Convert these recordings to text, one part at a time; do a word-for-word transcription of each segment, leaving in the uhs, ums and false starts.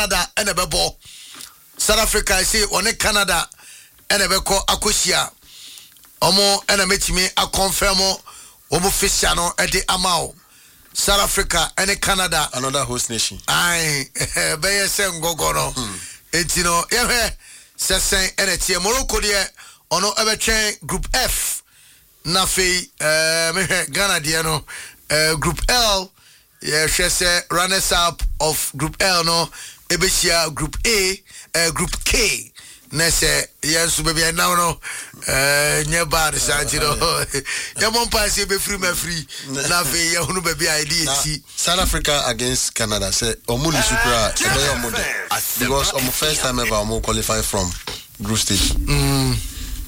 Canada ɛna ɛbɛbɔ. South Africa ɛsɛ ɔne Canada ɛna ɛbɛkɔ akɔhyia. Ɔmo ɛna mɛtumi aconfirm wɔn fixture no ɛde ama o, South Africa ɛne Canada. Another host nation. Ayi, bɛyɛ sɛ ngɔgɔ no. Eti no yɛhwɛ sɛ sɛn ɛna ɛteɛ. Morocco deɛ, ɔno ɛbɛtwɛn Group F. Na afei ɛɛ mehwɛ Ghana deɛ no, ɛɛ Group L, yɛhwɛ sɛ runners up of Group L no ɛbɛhyia Group A, ɛɛ Group K. Na sɛ yɛn nso baabi a ɛnam no ɛɛ nyɛ bad saa, nti no yɛmmɔ mpa sɛ yɛbɛfiri mu afiri na afei yɛhunu baabi a yɛde yɛti. South Africa against Canada, sɛ ɔmo lose koraa, ɛbɛyɛ ɔmo de because ɔmo first time ever ɔmo qualify from group stage.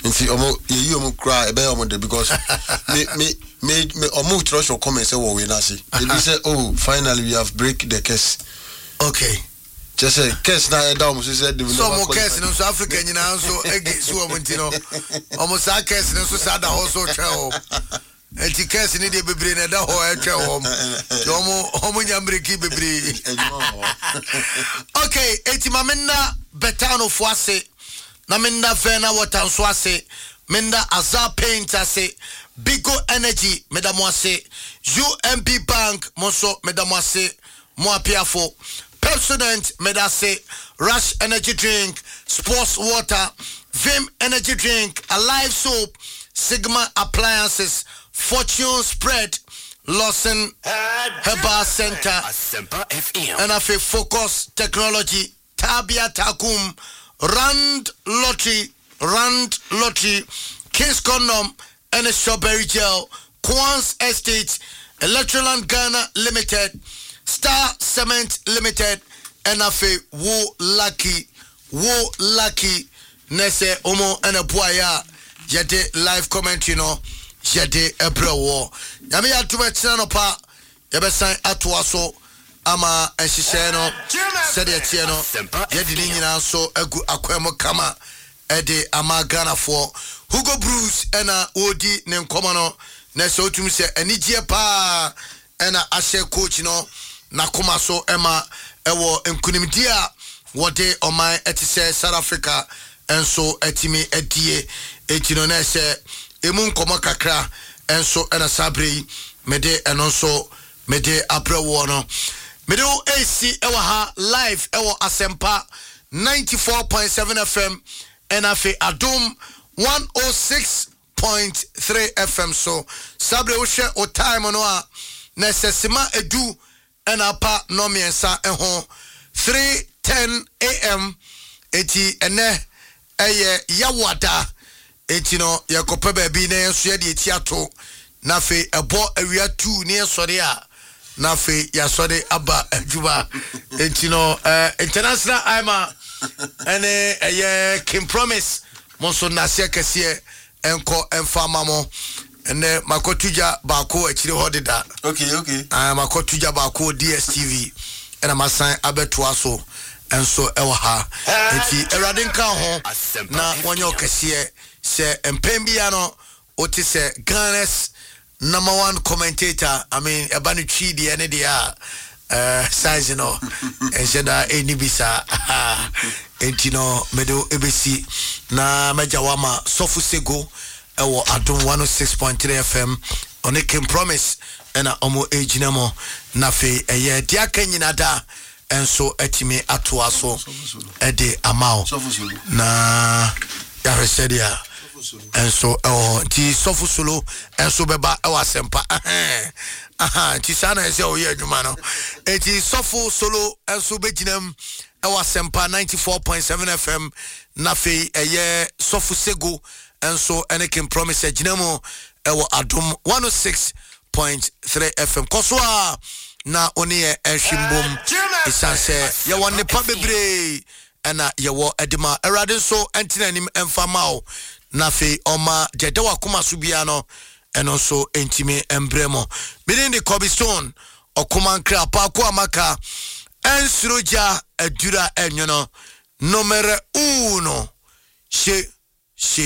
Nti ɔmo yɛyi ɔmo koraa, ɛbɛyɛ ɔmo de because me me me me ɔmo twerɛtwerɛ comment sɛ wɔ wei n'ase ebi sɛ, "Oh, finally we have break the curse." Okay kyerɛ sɛ curse na ɛda ɔmo so sɛ they will so never ɔmo qualify. Curse no nso, Africa nyinaa nso ege so wɔn, nti no ɔmo saa curse no nso saa da hɔ so twɛ hɔ. Nti curse no deɛ, bebree na ɛda hɔ ɛtwɛ wɔn, nti ɔmo ɔmo nya mmiriki bebree. Adwuma wɔ hɔ. Okay, eti ma menna Betano ase, na menna Vena Water nso ase, menna Azar Paint ase, Bigo Energy meda mo ase, U M B Bank mo nso meda mo ase, mo apiafo Pepsodent meda ase, Rush Energy Drink, Sports Water, Vim Energy Drink, Alive Soap, Sigma Appliances, Fortune Spread, Lawson Herbal Center, Asempa F M. Ɛna afei Focus Technology, Tabia Takum, Rand Lottery, Rand Lottery, Kings Condom ɛne Strawberry Gel, Quans Estate, Electroland Ghana Limited, Star Cement Limited, ɛna afei Wo Lucky, Wo Lucky. Na sɛ ɔmo ɛna boaeɛ a yɛde live commentary no yɛde ɛbrɛ wɔ. Nyame yɛ atom, ɛkyena no pa yɛbɛsan atoa so ama nhyehyɛe no sɛdeɛ teɛ no. Yɛde ne nyinaa nso agu akwan mu kama ɛde ama Ghanafoɔ. Hugo Broos ɛna wɔredi ne nkɔmmɔ no, na sɛ wotumi sɛ anigyeɛ paa ɛna ahyɛ coach no n'akoma so ɛma ɛwɔ nkonimdie a wɔde ɔman ɛte sɛ South Africa nso atumi adie. Eti no na ɛsɛ emu nkɔmmɔ kakra nso ɛna saa bere yi mede ɛno nso mede abrɛ woɔ no. Mede wo esi ɛwɔ ha live ɛwɔ Asɛmpa ninety-four point seven F M ɛna afei Adom one oh six point three F M so. Saa bere wohwɛ o time no a, na ɛsɛ sima edu ɛna apa nnɔmmiɛnsa ho, three ten a M. Eti ɛnɛ ɛyɛ Yawoada, eti no yɛkɔpɛ baabi na yɛn nso yɛde eti ato, na afei ɛbɔ awia two ne yɛsɔre a, na afei yɛasɔre aba adwuma. Eti no ɛɛ international ima ɛne ɛyɛ King Promise, mo nso nnaseɛ kɛseɛ ɛnkɔ ɛmfa ama mo. Ɛnɛ makɔto gya baako akyire hɔ deda. okay okay Ah, makɔto gya baako wɔ D S T V ɛna masan abɛtoa so ɛnso ɛwɔ ha. Nti Awurade nka ho na wɔnyɛ ɔkɛseɛ sɛ mpɛn bia no wote sɛ Ghana's number one commentator. I mean, ɛba no Twi deɛ ne deɛ a uh, size no ɛnhyɛ da ɛnni bi saa. Enti no mede wo ɛbɛsi na mɛgya wo ama Sɔfo Sego ɛwɔ Adom one oh six point three F M. Ɔne King Promise ɛna ɔmo ɛgyina mu, na afei ɛyɛ deɛ aka nyina da ɛnso atumi atoa so ɛde ama wo Sɔfo Solo. Na yɛahwɛ sɛdeɛ ɛnso ɛwɔ hɔ. Nti Sɔfo Solo ɛnso bɛba ɛwɔ Asɛmpa. Ɛhɛn. Aha, nti saa na ɛsɛ ɔyɛ adwuma no. Nti Sɔfo Solo ɛnso bɛgyina mu ɛwɔ Asɛmpa ninety-four point seven F M, na afei ɛyɛ Sɔfo Sego ɛnso ɛne King Promise agyina mu ɛwɔ Adom one oh six point three F M. Kɔ so a na wo ne yɛ ɛhwe mbom, ɛsiane sɛ yɛwɔ nnepa bebree ɛna yɛwɔ ɛde ma. Awurade nso ɛntena anim ɛmfa ma wo, na afei ɔma deɛ ɛda wakoma so biara no ɛno nso ɛntumi mbrɛ mu. Mede de Kobe Stone ɔkoma nkra paako a maka ɛnsoro gya adura ɛnwono numero uno hye hye.